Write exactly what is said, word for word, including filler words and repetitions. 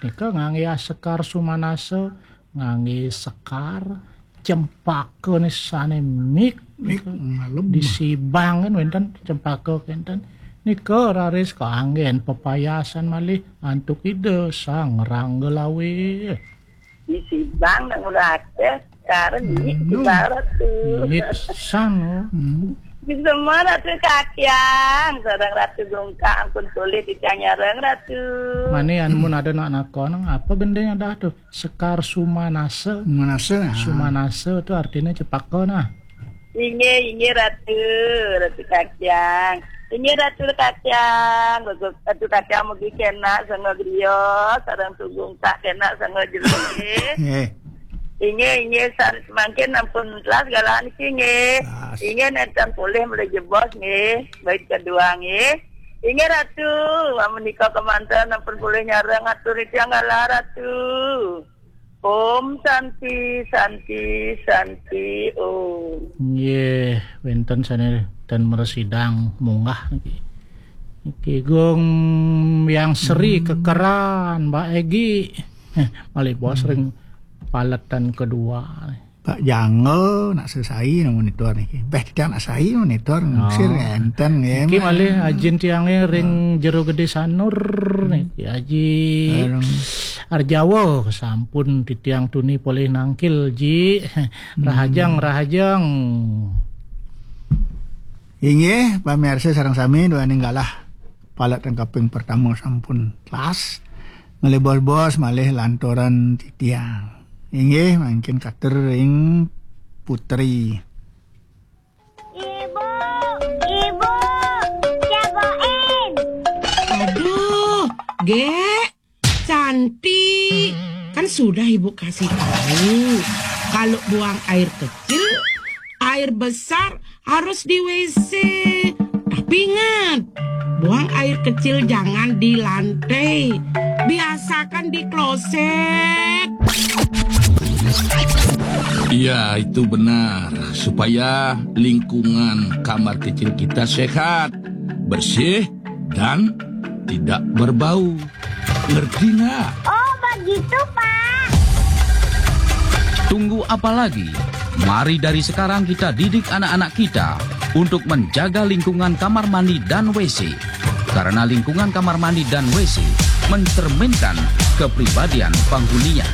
Nika ngangge sekar sumanasa, ngangge sekar cempaka ne sane mik. Mik, ngalem. Di Sibang kan wenten cempaka kenten. Nika raris kaanggen pepayasan malih antuk Ida Sang Ranggalawe. Di Sibang nak ngulate sekarang ini. Hmm. Ibarat tuh. Ini pisan, oh. Hmm. Bisa mana tuh kakian? Sareng Ratu Gungkak ampun polih titiang nyareng, Ratu. Mane, amun ada nak nakon, apa gending ada tuh? Sekar sumanasa. Sumanasa, ah. Sumanasa tuh artinya cepaka, nah. Inggih, inggih, Ratu, Ratu Kacang. Inggih, Ratu Kacang. Ratu Kacang mugi kena sanga griya, sareng Ratu Gungkak kena sanga jero, nggih. Nggih. Inggih, inggih, san-, mangkin ampun telas galah niki, nggih. Telas. Inggih, nenten polih malih jebos, nggih. Bait kedua, nggih. Inggih, Ratu, menika kemanten ampun polih nyareng atur titiang galah, Ratu. Om Santi, Santi, Santi, Om. Nggih, wenten sane ten mresidang munggah niki. Niki Gung Yang Sri, hmm, Kekeran, Mbak Egi. Malih bos, hmm, ring paletan kedua. Pak Jangga, nak sesai nak monitor niki. Beh, titiang nak sai monitor, oh, sir enten nggih. Niki malih ajin tiange ring, oh, Jero Gede Sanur, hmm, niki Aji. Bareng. Arjawa, sampun titiang tuni polih nangkil, Ji. Hmm. Rahajeng, rahajeng. Inggih, pamirsa sareng sami, duaning galah palet ring kaping pertama sampun telas. Malih bos-bos malih lanturan titiang. Inggih, mangkin katur ring Putri. Ibu, ibu, jagoin. Aduh, Gek. Cantik. Kan sudah Ibu kasih tahu, kalau buang air kecil, air besar harus di W C. Tapi ingat, buang air kecil jangan di lantai. Biasakan di kloset. Iya, itu benar. Supaya lingkungan kamar kecil kita sehat, bersih, dan tidak berbau. Ngerti nggak? Oh, begitu, Pak. Tunggu apa lagi? Mari dari sekarang kita didik anak-anak kita untuk menjaga lingkungan kamar mandi dan W C. Karena lingkungan kamar mandi dan W C mencerminkan kepribadian penghuninya.